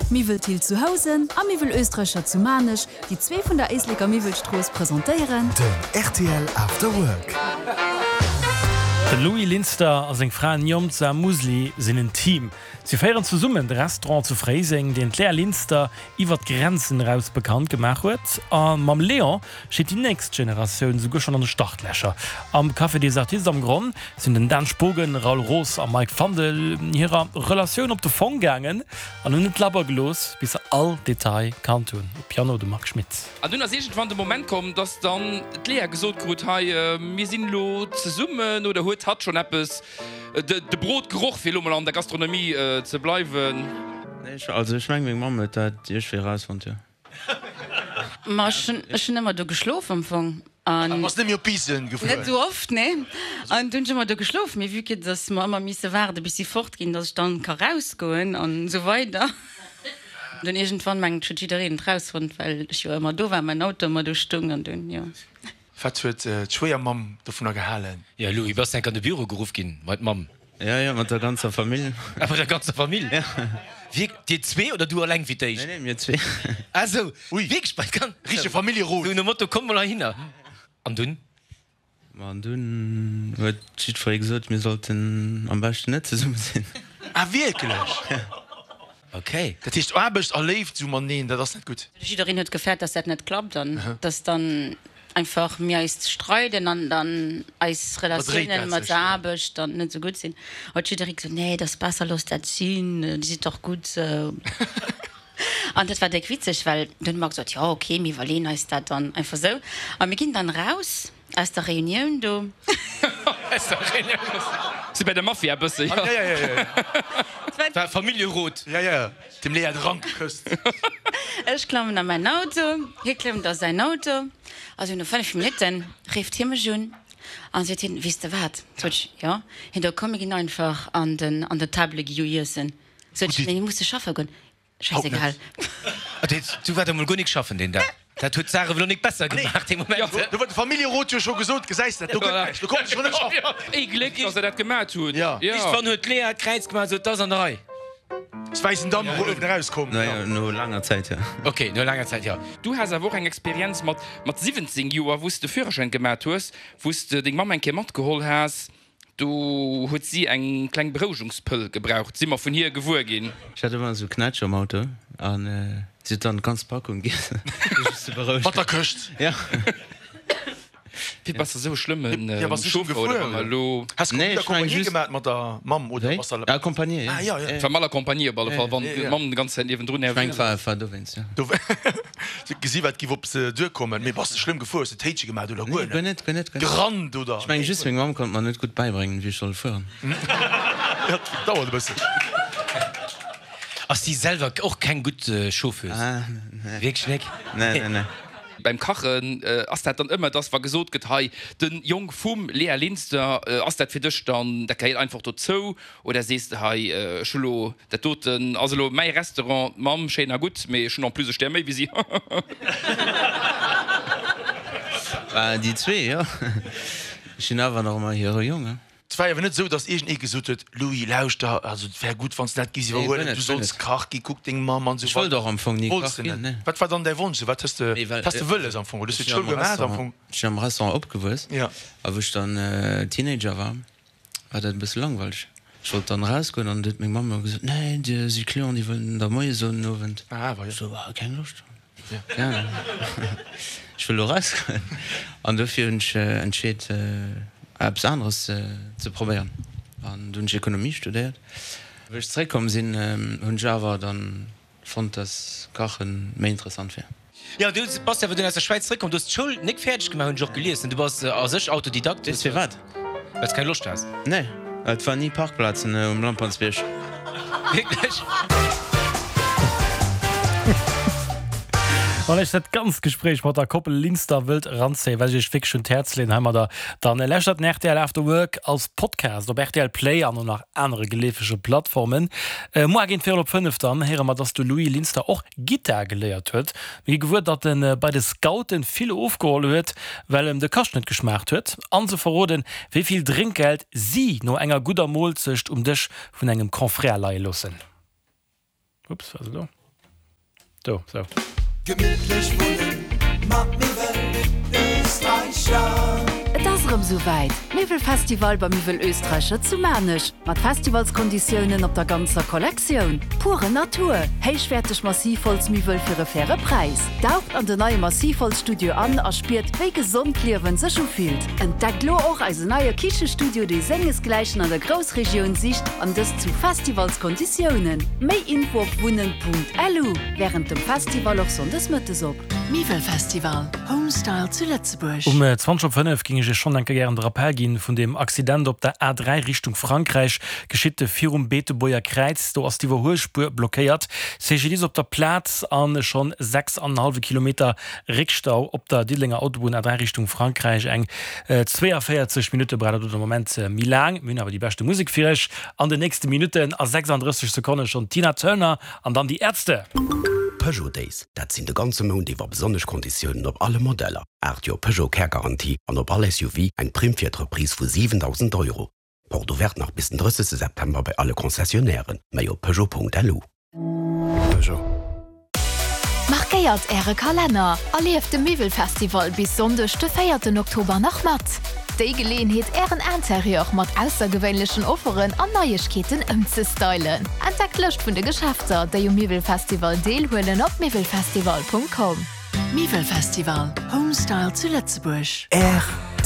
Miwwel Thill zu Housen a Miwwel Oestreicher zu Maarnech, déi zwee vun der Éisleker Miwwelstrooss, presentéieren. Den rtl After Work. De Louis Linster a seng Fra Njomza Musli sinn en Team. Si féieren zesummen de Restaurant zu Fréiseng, deen d'Léa Linster iwwer d'Grenzen eraus bekannt gemaach huet. A mam Léon steet déi nächst Generatioun esouguer schonn an de Startlächer. Am Café des Artistes am Gronn sinn den Dan Spogen, Raoul Roos a Mike Fandel hirer Relatioun op de Fong gaangen an hunn net labber gelooss, bis se all Detail kannt hunn. Um Piano de Marc Schmitz. An dunn ass iergendwann de Moment komm, dass dann d'Léa gesot krut, Hei, mir sinn elo zesummen. Oder huet hatt schonn eppes de Brot geroch, fir elo mol an der Gastronomie ze bleiwen? Nee, also ech meng meng Mamm huet dat iergwéi erausfonnt, jo. Ma ech hunn, ech hunn ëmmer do geschlof am Fong. An. Bass net méi op Biissen gefuer? Net esou oft, nee. An du hunn ech ëmmer do geschlof. Mee vue que dass mer ëmmer misse waarde bis si fort ginn, dass ech dann ka rausgoen an esou weider. Dunn iergendwann, mengen ech, huet jiddereen et rausfonnt, well ech jo ëmmer do war, mäin Auto ëmmer do stoung an dunn, jo. Wat huet d'Schwéiermamm dovunner gehalen? Jo, Louis, bass enk an de Büro geruff ginn bei d'Mamm? Jo, jo, mat der ganzer Famill. Ah, mat der ganzer Famill? Jo. Wierk, dir zwee oder du alleng fir d'éischt? Nee, nee, mir zwee. Ah sou, wierklech bei d'ganz. Richtege Familljerot. Sou nom Motto, Kommt mol heihinner. An dunn? Ma an dunn huet jiddweree gesot, mir sollten am beschten net zesumme sinn. Ah, wierklech? Jo. Ok. Dat heescht Aarbecht a Léift sou mateneen, dat ass net gutt? Jiddereen huet gefäert, dass dat net klappt an dass dann einfach mir eis streiden an dann eis Relatiounen mat der Aarbecht dann net sou gutt sinn. Huet jidderee gesot, nee, et ass besser, looss dat sinn, dir sidd dach gutt sou. An dat war déck witzeg, well dunn hu mer gesot, jo ok, mir iwwerleeën eis dat dann einfach sou. A mir ginn dann raus aus der Reunioun do. Aus der Reunioun. Si bei der Mafia e bësse, jo. War Familljerot. Jo, jo, dem Léa de Rank gekësst. Ech klammen a mäin Auto, hie klëmmt a säin Auto. A sou no 5 Minutten rifft hie mech un an seet hien, Weess de wat? Sot ech, Jo. Hien, Da komm mir ginn einfach an den an de Table Guillou iessen. Sot ech, Nee, mir musse schaffe goen. Schäisegal. Du war der mol guer nik schaffen deen Dag. Dat huet d'Saach ewell och nik besser gemaach dee Moment. Do huet de Familljerot jo scho gesot, gesäis dat do gëtt näischt, do konnt ech scho net schaffen. Ee Gléck, dass der dat gemat hutt. Iergendwann huet d'Lea d'Kräiz gemaach an sot, 't ass an der Rei. S wäissen Damp uewen erauskomm. No laanger Zäit, jo. Ok, no laanger Zäit, jo. Du has awer och eng Experienz mat mat 17 Joer, wou s de Führerschäin gemat hues, wou s de deng Mamm eng Kéier matgeholl has. Do huet si eng kleng Berouegungspëll gebraucht, si mer vun hir gewuer ginn. Ech hat ëmmer esou Knätsch am Auto an si huet dann d'ganz Packung giess, fir sech ze berouegen. Mat der Këscht? Ja. Wéi, bass de esou e schlëmme Chauffer oder wa mer elo. Has de Nee, ech meng accompagné just. gemat mat der Mamm oder Wéi? bass de. Accompagné, ja. Ah, ja, ja. War mal accompagné op alle Fall, wann d'Mamm de ganz Zäit niewendrun. Ech meng, war, war dowéinst, jo. Si huet gesi wat giff op se duerkommen. Mee bass de schlëmm gefuer? Hues de Téitche gemat oder guer net? Guer net, guer net. Gerannt oder? Ech mengen just meng Mamm konnt mer net gutt bäibréngen wéi ech soll fueren. Jo, dauert e bëssen. Ass si selwer och keng gutt Chauffeuse? Wierklech nek? Nee, nee, nee. Beim Kachen ass dat dann ëmmer, dass wa gesot gëtt, hei den Jong vum Léa Linster, ass dat fir dech dann, dat gehéiert einfach dozou? Oder sees de, hei ech hu lo Dat doten ass elo mäi Restaurant, d'Mamm, schéin a gutt, mee ech hunn en plus e Stär méi wéi si. Bah, déi zwee, jo. Ech sinn awer nach ëmmer hire Jong, he. Et war awer net esou, datt iergendee gesot huet, Louis, lauschter, also et wär gutt, wann s de dat géifs iwwerhuelen, du solls Kach ginn, kuck deng Mamm an esou Ech wollt weider. och am Fong ni Wollts Kach de ginn, net? nee. Wat war dann däi Wonsch esou? Wat hues de, Nee, well wat has de wëlles am Fong? Oder hues ech du sinn d'Schoul am gemaach am Restaurant, Fong? ech sinn am Restaurant opgewuess Ja. a wou ech dann Teenager war, war dat e bësse langweileg. Ech wollt dann erausgoen an du huet meng Mamm ëmmer gesot, Nee, dir si Clienten, déi wëllen der Moie soen den Owend. Ech sou, Ah, keng Loscht. Ech wëll elo erausgoen. An dofir hunn ech entscheet, eppes aneres ze probéieren. An du hunn ech Ekonomie studéiert. Wéi ech zeréckkomm sinn, hunn ech awer dann Fonnt dass Kachen méi interessant wier. Jo, du bass awer dunn aus der Schwäiz zeréckkomm, du hues d'Schoul nik fäerdeg gemaach, hunn ech och gelies, ne? Du bass a sech Autodidakt. Weess firwat? Well s keng Loscht has. Nee, et war ni Parkplazen um Lampertsbierg. Wierklech? Wann Iech dat ganzt Gespréich mat der Koppel Linster wëllt eranzéien, wat ech Iech wierklech un d'Häerz leeën heimadder, dann lauschtert den rtl After Work als Podcast op rtl Play an och nach anere geleefege Plattformen. Muar géint virel op 5 dann héiere mer, dass de Louis Linster och Gittar geléiert huet. Mir gi gewuer, datt en bei de Scouten vill ofgeholl huet, well em de Kascht net geschmaacht huet. An se verroden, wéi vill Drénkgeld si no enger gudder Moolzecht um Dësch vun engem Confrère leie loossen. Ups, wat ass elo? Do, sou. Gemittlech wunnen mat Miwwel Österreicher. Et ass erëm sou wäit, Miwwelfestival bei Miwwel Österreicher zu Maarnech mat Festivalskonditiounen op der ganzer Kollektioun. Pure Natur, héichwäerteg Massivholzmiwwel fir e faire Präis. Daucht an den neie Massivholzstudio an a spiert wéi gesond d'Liewen sech ufillt. Entdeckt lo och eisen neie Kichestudio, dee sengesgläichen an der Groussregioun sicht an dëst zu Festivalskonditiounen. Méi Info op wunnen.lu. Wärend dem Festival och Sonndes mëttes op. Miwwelfestival, Homestyle zu Lëtzebuerg. Um 20 op 5 géing ech Iech schonn enke gären de Rappel ginn vun deem Accident op der A3 Richtung Frankräich, geschitt virum Beetebuerger Kräiz. Do ass d'Iwwerhuelspuer blockéiert. CGDIS op der Plaz an schonn 6 an en hallwe Kilometer Réckstau op der Diddelenger Autobunn A3 Richtung Frankräich. Eng 42 Minutte brauch dat do de Moment méi laang. Mir hunn awer déi beschte Musek fir Iech an den nächste Minutten. A 36 Sekonne schonn d'Tina Turner an dann déi Ärzte. Peugeot Days, dat sinn de ganze Mount iwwer besonnesch Konditiounen op alle Modeller, 8 Joer Peugeot Kärgarantie an op all SUV eng Primm fir d'Reprise vu 7.000 Euro. Porte ouverte nach bis den 30 September bei alle Concessionnairen, méi op Peugeot.lu. Peugeot. Markéiert Äre Kalenner a lieft de Miwwelfestival bis Sonndeg de véierten Oktober nach mat! Déi Geleeënheet Ären Interieur mat aussergewéinlechen Offeren an Neiegkeeten ëmzestylen. Entdeckt d'Lëscht vun de Geschäfter, déi um Miwwelfestival deelhuelen op miwwelfestival.com. Miwwelfestival, Homestyle zu Lëtzebuerg. Rtl.